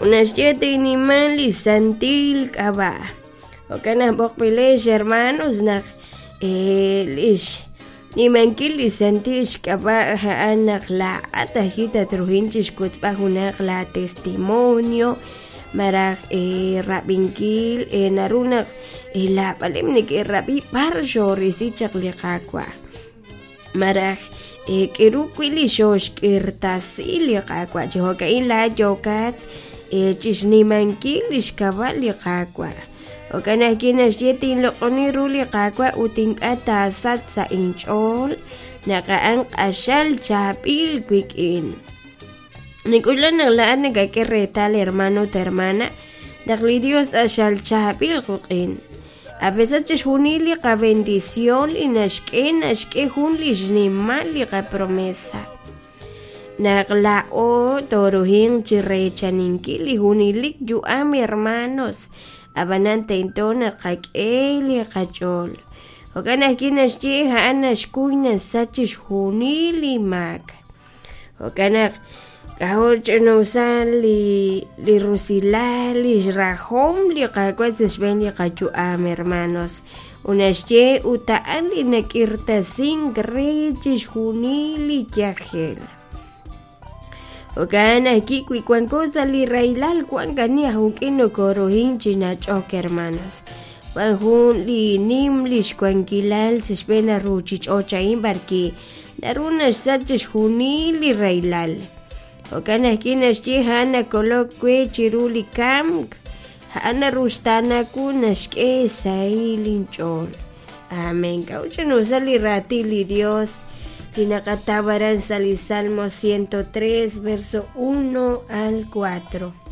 Ut naxye tinnima li santil k'ab'a'. Jo'kan naq b'oqb'ilex hermanos naq lix nimankil li santil xk'ab'a' a'an naq laa'at ajwi' tatruhin chixwotzb'al junaq laa testimonio malaj rab'inkil naru naq laab'aleb' neke'rab'i b'ar xoorisi chaq li Qaawa' malaj k'eru wi' li xooxk'irtasi li Qaawa' chi jo'ka'in laa'at yookat chixnimankil lix k'ab'a' li Qaawa'. Jo'kan ajwi' naxye tinloq'oni ru li Qaawa' ut ink'a' taasachq sa' inch'ool naq a'an q'axal chaab'il wik'in. Nink'oxla naq laa'at nakak'e reetal hermano ut hermana naq li Dios q'axal chaab'il qik'in. A pesar chixjunil li qabendición li naxk'e naxk'e jun li xnimal li qapromesa. Naq laa'o tooruhinq chi reechaninkil li junelik yu'am hermanos, ab'anan tento naq qak'e li qach'ool. Jo'kan ajwi' naxye a'an naxkuy nasach chixjunil li maak. Jo'kan naq k'ajo' ch'ina'usal li li rusilal li xrajom li Qaawa' sa' xb'een li qayu'am hermanos. Ut naxye ut a'an li nak'irtasink re chixjunil li yajel. Jo'kan ajwi' wi wanko sa' li rahilal wank ani aj uk'in nokorohin chi nach'ok hermanos. Wan jun li nim li xwankilal sa' xb'een li ruuchich'och' a'in b'arwi' naru naxsach chixjunil li rahilal. Jo'kan ajwi' naxye a'an nakolok we chiru li kamk, a'an naruxtaana wu naxk'e xsahil inch'ool. Amén. K'a'ut ch'ina'usal li raatin li Dios li naqataw aran sa' li Salmo 103, verso 1 al 4.